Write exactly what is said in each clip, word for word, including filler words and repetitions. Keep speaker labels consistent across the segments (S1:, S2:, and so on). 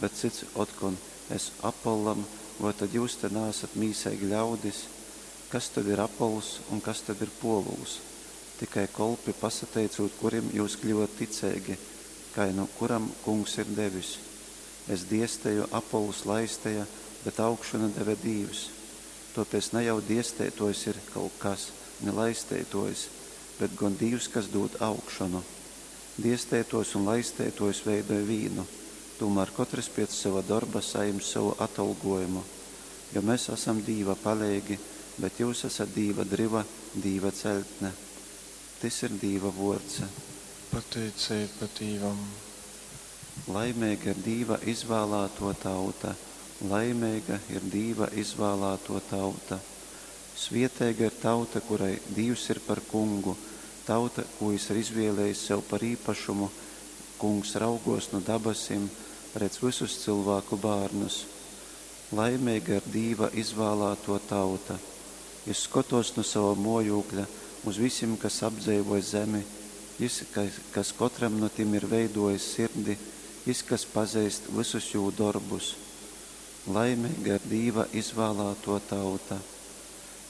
S1: bet cyts otkon, Es Apollam, voi tod jyus te naasat mīseigi ļaudis? Kas tod ir Apollss un kas tod ir Pōvuls? Tikai kolpi, pasateicūt kurim jyus kļyvot ticeigi, kai nu kuram Kungs ir devis. Es diesteju, Apollss laisteja, bet augšonu deve Dīvs. Tōpēc na jau diesteitōjs ir kaut kas, ni laisteitōjs, bet gon Dīvs, kas dūd augšonu. Diesteitōjs un laisteitōjs veidoj vīnu, tūmār kotrys piec sova dorba sajims sovu atolgōjumu. Jo mes asam Dīva paleigi, bet jyus asat Dīva dryva, Dīva ceļtne. Tys ir Dīva vōrds.
S2: Pateiceiba Dīvam.
S1: Laimeiga ir Dīva izvālātō tauta, laimeiga ir Dīva izvālātō tauta. Svieteiga ir tauta, kurai Dīvs ir par kungu, tauta, kū jis ir izvielējis sev par īpašumu. Kungs raugōs nu dabasim, redz vysus cylvāku bārnus. Laimeiga ir Dīva izvālātō tauta. Jys skotōs nu sova mōjūkļa uz visim, kas apdzeivoj zemi, jys, kas kotram nu tim ir veidōjis sirdi, jys, kas pazeist vysus jū dorbus. Laimeiga ir Dīva izvālātō tauta.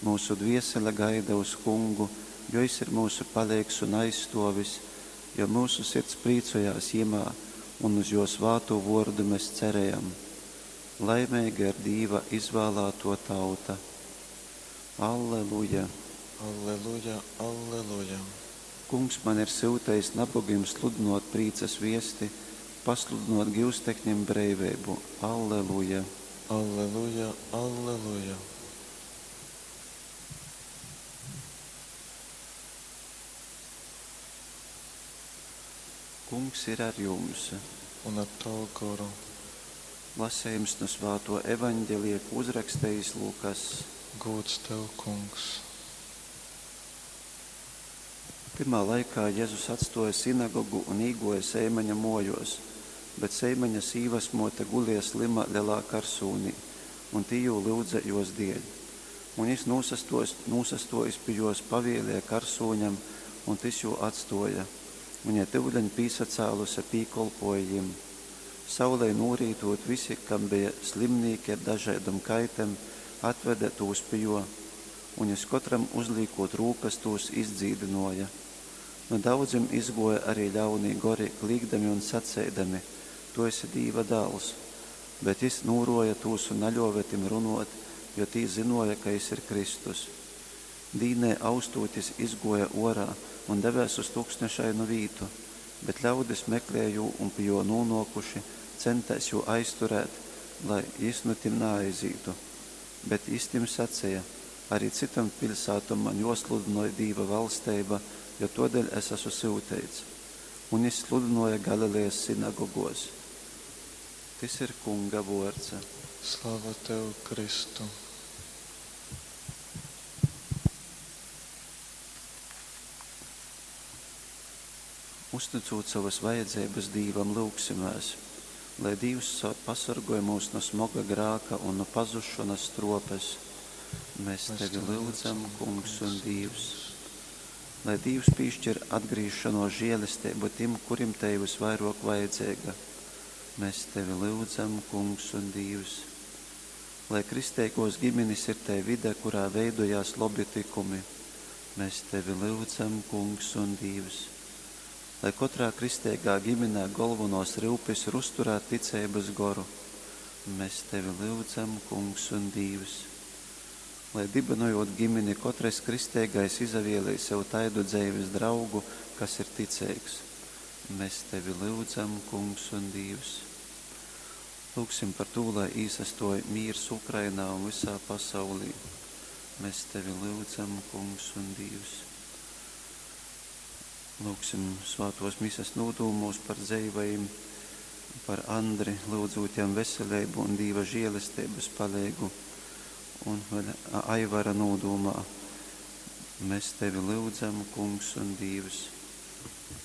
S1: Myusu dviesele gaida uz Kungu, jo jis ir myusu paleigs un aizstōvis, jo myusu sirds prīcojās jymā, un uz jō svātū vōrdu mes cerejam. Laimeiga ir Dīva izvālātō tauta. Alleluja!
S2: Alleluja, alleluja!
S1: Kungs mani ir syutejis nabogim sludynōt prīcas viesti, pasludynōt gyusteknim breiveibu. Alleluja!
S2: Alleluja, alleluja!
S1: Kungs ir ar jums.
S2: Un ar tavu goru.
S1: Lasejums nu svātō Evaņgelija, kū uzrakstejis Lukass.
S2: Gūds tev, Kungs.
S1: Tymā laikā Jezus atstōja sinagogu un īgōja Seimaņa mōjōs. Bet Seimaņa sīvasmōte gulēja slyma lelā karsūnī, un tī jū lyudze jōs dēļ. Un jys nūsastōjis, nūsastōjis pi jōs pavēlēja karsūņam, un tys jū atstōja. Un jei tyuleņ pīsacāluse pīkolpōja jim. Saulei nūrītūt, visi, kam beja slimnīki ar dažaidom kaitem, atvede tūs pi jō, un jys kotram uzlīkūt rūkas tūs izdzīdynōja. Nu daudzim izgōja arī ļaunī gori, klīgdami un saceidami: Tu esi Dīva dāls. Bet jys nūrōja tūs un naļōve tim runōt, jo tī zynōja, ka jys ir Kristus. Dīnai austūt jys izgōja ōrā un devēs uz tuksnešainu vītu, bet ļaudis meklēja jū un pi jō nūnōkuši, centēs jū aizturēt, lai jys nu tim naaizītu. Bet jys tim saceja: Arī cytom piļsātom man jōsludynoj Dīva valsteiba, jo tōdēļ es asu syuteits. Un jys sludynōja Galilejas sinagogōs. Tys ir Kunga vōrds.
S2: Slava tev, Kristu!
S1: Uztycūt sovas vajadzeibas Dīvam, lyugsimēs, lai Dīvs pasorgoj myus nu smoga grāka un nu pazusšonas struopes. Mēs Tevi lyudzam, Kungs un Dīvs. Lai Dīvs pīšķir atgrīzšonuos žēlesteibu tim, kurim tei vysvairōk vajadzeiga. Mēs Tevi lyudzam, Kungs un Dīvs. Lai kristeigōs giminis ir tei vide, kurā veidojās lobi tykumi. Mēs Tevi lyudzam, Kungs un Dīvs. Lai kotrā kristeigā giminē golvonōs ryupis ir uzturēt ticeibys goru. Mēs Tevi lyudzam, Kungs un Dīvs. Lai dybynojūt gimini, kotrys kristeigais izavielej sev taidu dzeivis draugu, kas ir ticeigs. Mēs Tevi lyudzam, Kungs un Dīvs. Lyugsim par tū, lai īsastōj mīrs Ukrainā un vysā pasaulī. Mēs Tevi lyudzam, Kungs un Dīvs. Lūgsim svātōs mises nūdūmūs par dzeivajim, par Andri, lyudzūt jam veseleibu un Dīva žēlesteibas paleigu, un vēl Aivara nūdūmā. Mēs Tevi lyudzam, Kungs un Dīvs.